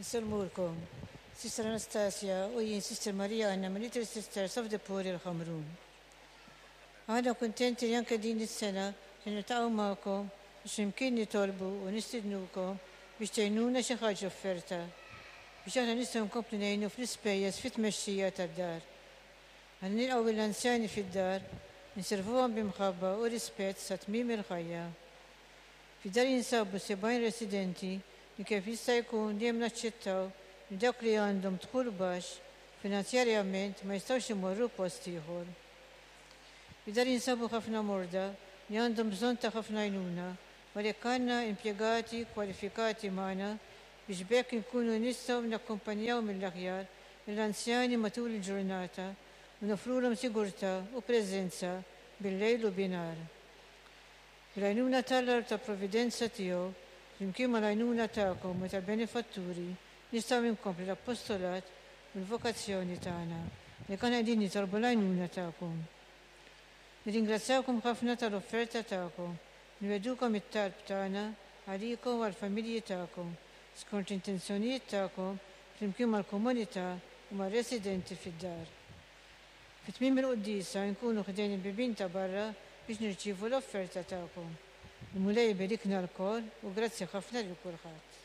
Insellmulkom. Sister Anastasia u jien Sister Maria Anna minn Little Sisters of the Poor il-Ħamrun. Aħna kuntenti li anke din is-sena se niltaqgħu magħkom biex flimkien nitolbu u nistidnukom biex tgħinuna xi ħaġa offerta biex aħna nistgħu nkomplu ngħinu fl-ispejjeż fit-tmexxija tad-dar. Aħna nilqgħu lill-anzjani fid-dar, inservuhom bi mħabba u rispett sa tmiem il-ħajja. Fid-dar jinsabu 70 residenti li kif jista' jkun dejjem naċċettaw li dawk li għandhom dħul baxx finanzjarjament ma jistgħux imorru post ieħor. Fid-dar jinsabu ħafna morda li għandhom bżonn ta' ħafna għajnuna u għalhekk għandna impjegati kwalifikati magħna biex b'hekk inkunu nistgħu nakkumpanjaw mill-aħjar lill-anzjani matul il-ġurnata u noffrulhom sigurtà u preżenza bil-lejl u binhar. Bl-għajnuna t'Alla u tal-providenza tiegħu, flimkien mal-għajnuna tagħkom u tal-benefatturi, nistgħu inkomplu l-appostolat u l-vokazzjoni tagħna, li konna qegħdin nitolbu l-għajnuna tagħkom. Nirringrazzjawkom ħafna tal-offerta tagħkom, nwegħdukom it-talb tagħna għalikom u għall-familji tagħkom, skont l-intenzjonijiet tagħkom flimkien mal-komunità u mar-residenti fid-dar. Fi tmiem il-quddiesa nkunu ħdejn il-bibien ta' barra biex nirċievu l-offerta tagħkom. Il-Mulej iberikna lkoll u grazzi ħafna lil kulħadd.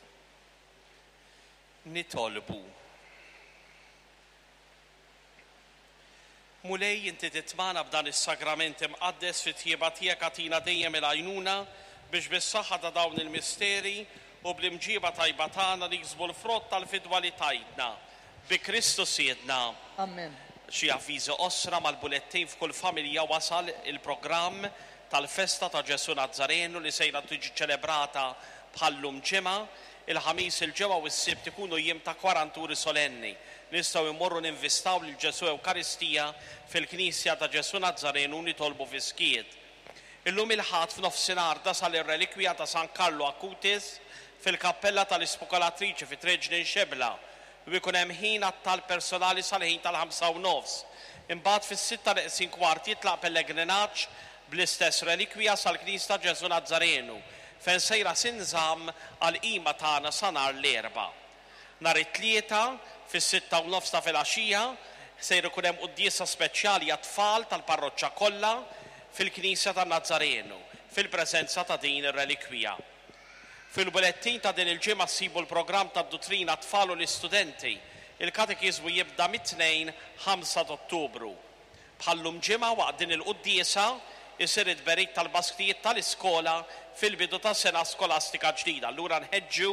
Nitolbu. Mulej, inti titmagħna b'dan is-sagrament imqaddes fit-tjieba tiegħek agħtina dejjem il-għajnuna biex bis-saħħa ta' dawn il-misteri u bl-imġieba tajba tagħna niksbu l-frott tal-fidwa li tajtna. Bi Kristu Sidna. Amen. Xi avviżi qosra, Mal-bulettin f'kull familja wasal il-programm tal-festa ta' Ġesù Nazzarenu li sejra tiġi ċelebrata bħal-lum ġimgħa. Il-Ħamis, il-Ġimgħa u s-Sibt ikunu jiem ta' kwaranturi solenni. Nistgħu immorru ninvistaw lil Ġesù Ewkaristija fil-Knisja ta' Ġesù Nazzarenu u nitolbu fis-skiet. Illum il-Ħadd f'nofsinhar tasal ir-relikwija ta' San Karlu Acutis fil-Kappella tal-Ispokolatriċi fi Triq Ġnien Xebla u jkun hemm ħin għat-talb personali sal-ħin tal-ħamsa u nofs. Imbagħad fis-sitta neqsin kwart jitlaq pellegrinaġġ bl-istess relikwija sal-Knisja ta' Ġesù Nazzarenu fejn sejra tinżamm għall-qima tagħna sa nhar l-Erbgħa. Nhar it-Tlieta, fis-sitta u nofs ta' filgħaxija, sejr ikun hemm quddiesa speċjali għat-tfal tal-parroċċa kollha fil-Knisja tan-Nazzarenu, fil-preżenza ta' din ir-relikwija. Fil-bulettin ta' din il-ġimgħa ssibu l-programm tad-duttrina għat-tfal u l-istudenti. Il-katekiżmu jibda mit-Tnejn, 5 t'Ottubru. Bħal-lum ġimgħa waqt din il-quddiesa jsir it-tberik tal-basktijiet tal-iskola fil-bidu ta' sena skolastika ġdida. Allura nħeġġu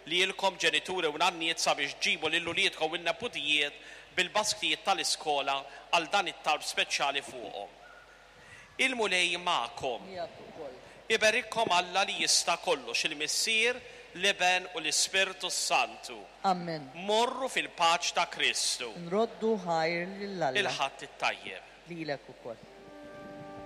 lilkom ġenituri u nanniet sabiex ġġibu lil uliedkom u n-neputijiet bil-basktijiet tal-iskola għal dan it-talb speċjali fuqhom. Il-Mulej magħkom. Miegħek ukoll. Iberikkom Alla li jista' kollox, il-Missier, l-Iben u l-Ispirtu s-Santu. Amen. Morru fil-paċ ta' Kristu. Nroddu ħajr lil Alla. Il-Ħadd it-tajjeb. Lilek ukoll.